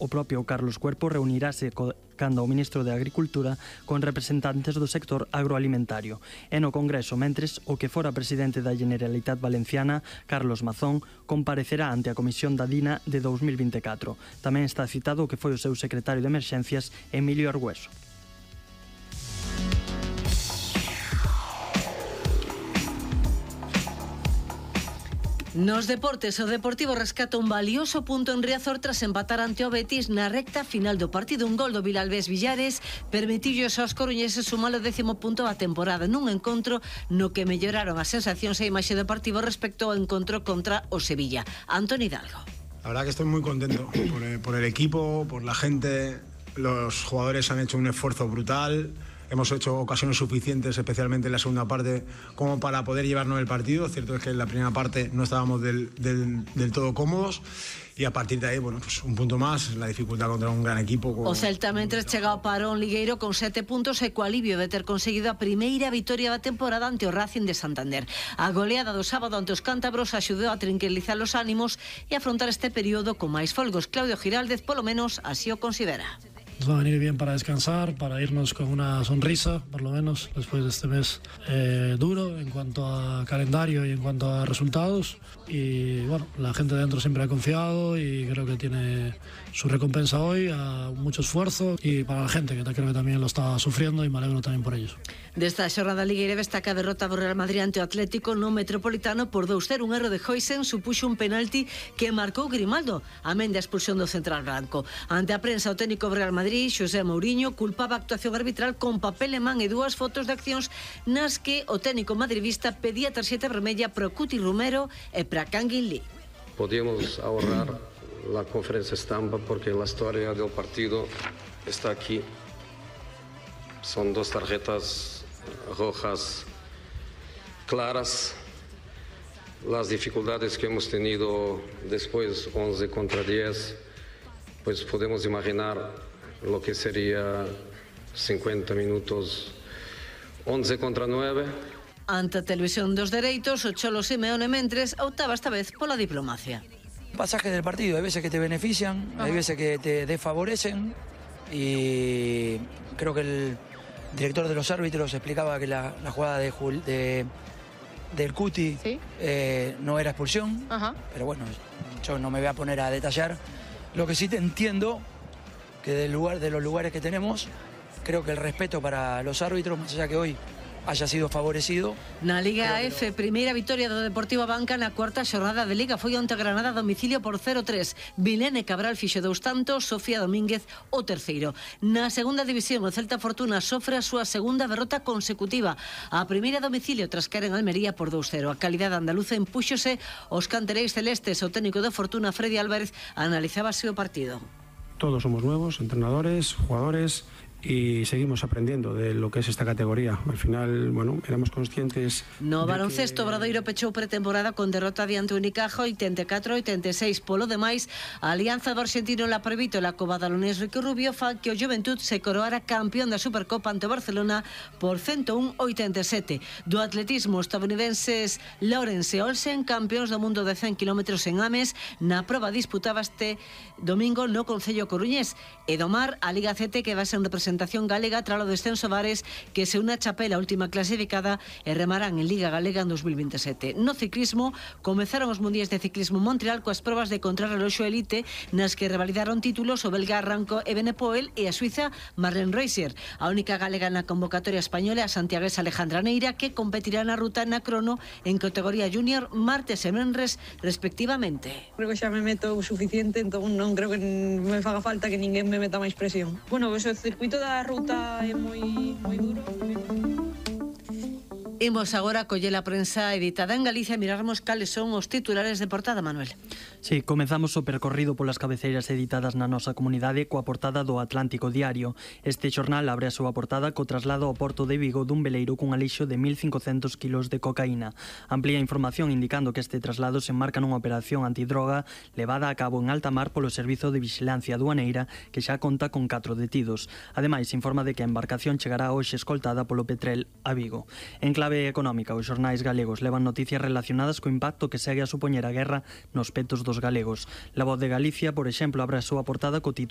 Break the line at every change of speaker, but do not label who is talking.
o propio Carlos Cuerpo reunirase cando o ministro de Agricultura con representantes do sector agroalimentario. E no Congreso, mentres, o que fora presidente da Generalitat Valenciana, Carlos Mazón, comparecerá ante a Comisión da DINA de 2024. Tamén está citado o que foi o seu secretario de Emerxencias, Emilio Argüeso.
Nos deportes, o Deportivo rescata un valioso punto en Riazor tras empatar ante o Betis na recta final do partido. Un gol do Vilalbés Villares permitillos aos coruñeses sumar o 10º punto da temporada nun encontro no que melloraron as sensacións e a imaxe do Deportivo respecto ao encontro contra o Sevilla. Antoni Hidalgo.
La verdad que estoy muy contento por el equipo, por la gente. Los jugadores han hecho un esfuerzo brutal. Hemos hecho ocasiones suficientes, especialmente en la segunda parte, como para poder llevarnos el partido. Cierto es que en la primera parte no estábamos del todo cómodos. E a partir de aí, bueno, pues un punto máis, la dificultad contra un gran equipo.
O Celta mentres chega ao parón ligueiro con 7 puntos e co alivio de ter conseguido a primeira vitoria da temporada ante o Racing de Santander. A goleada do sábado ante os cántabros axudou a tranquilizar os ánimos e afrontar este período con máis folgos. Claudio Giraldez, polo menos, así o considera.
Nos va a venir bien para descansar, para irnos con una sonrisa, por lo menos, después de este mes duro en cuanto a calendario y en cuanto a resultados. Y bueno, la gente de dentro siempre ha confiado y creo que tiene su recompensa hoy, a mucho esfuerzo, y para la gente, que creo que también lo está sufriendo, y me alegro también por ellos.
Desta xornada ligueira destaca a derrota do Real Madrid ante o Atlético no Metropolitano por 2-0. Un erro de Huijsen supuxo un penalti que marcou Grimaldo, amén da expulsión do central branco. Ante a prensa, o técnico do Real Madrid, Xosé Mourinho, culpaba a actuación arbitral con papel en man e 2 fotos de accións nas que o técnico madridista pedía tarxeta vermella pro Cuti Romero e para Kangin Lee.
Podíamos ahorrar la conferencia estampa porque la historia del partido está aquí. Son 2 tarjetas rojas claras. Las dificultades que hemos tenido después, 11 contra 10, pues podemos imaginar lo que sería 50 minutos, 11 contra 9.
Ante a Televisión dos Dereitos, o Cholo Simeone mentres optaba esta vez pola diplomacia.
Pasajes del partido, hay veces que te benefician, hay veces que te desfavorecen, y creo que el director de los árbitros explicaba que la jugada del Cuti, ¿sí? No era expulsión, pero bueno, yo no me voy a poner a detallar. Lo que sí te entiendo, que de los lugares que tenemos, creo que el respeto para los árbitros, más allá que hoy haya sido favorecido.
Na Liga F, primeira vitoria do Deportivo Abanca na cuarta xornada de Liga. Foi onte Granada a domicilio por 0-3. Vilene Cabral fixo 2 tantos, Sofía Domínguez o terceiro. Na segunda división, o Celta Fortuna sofre a súa segunda derrota consecutiva. A primeira a domicilio tras caer en Almería por 2-0. A calidade andaluza empúxose os cantereis celestes. O técnico de Fortuna, Freddy Álvarez, analizaba o partido.
Todos somos nuevos, entrenadores, jugadores, y seguimos aprendiendo de lo que es esta categoría. Al final, bueno, éramos conscientes...
No baloncesto, Obradoiro pechou pretemporada con derrota diante Unicaja 84-86. Polo demais, a alianza do argentino Laprevito e la cobadalonés Ricky Rubio fa que o Juventud se coroara campeón da Supercopa ante o Barcelona por 101-87. Do atletismo, estadounidenses Lawrence e Olsen, campeóns do mundo de 100 km en Ames, na proba disputaba este domingo no Concello Coruñés. E do mar, a Liga CT, que vai ser en representación galega tras o descenso Vares, que se une a Chapela, a última clasificada, e remarán en Liga Galega en 2027. No ciclismo, comezaron os mundiais de ciclismo Montreal coas probas de contrarreloxo elite, nas que revalidaron títulos o belga Ranko Evenepoel e a suiza Marlene Reusser. A única galega na convocatoria española é a santiaguesa Alejandra Neira, que competirá na ruta na crono en categoría junior martes e venres respectivamente.
Creo que xa me meto o suficiente, entón non creo que me faga falta que ninguén me meta máis presión. Bueno, pois o circuito da ruta é moi duro.
Imos agora coller a prensa editada en Galicia e mirarmos cales son os titulares de portada, Manuel.
Sí, comezamos o percorrido polas cabeceiras editadas na nosa comunidade coa portada do Atlántico Diario. Este xornal abre a súa portada co traslado ao porto de Vigo dun veleiro cun alixo de 1.500 kilos de cocaína. Amplía información indicando que este traslado se enmarca nunha operación antidroga levada a cabo en alta mar polo Servizo de Vixilancia Aduaneira, que xa conta con 4 detidos. Ademais, informa de que a embarcación chegará hoxe escoltada polo Petrel a Vigo. En clave económica, os xornais galegos levan noticias relacionadas co impacto que segue a supoñer a guerra nos petos dos galegos. La Voz de Galicia, por exemplo, abre a súa portada co título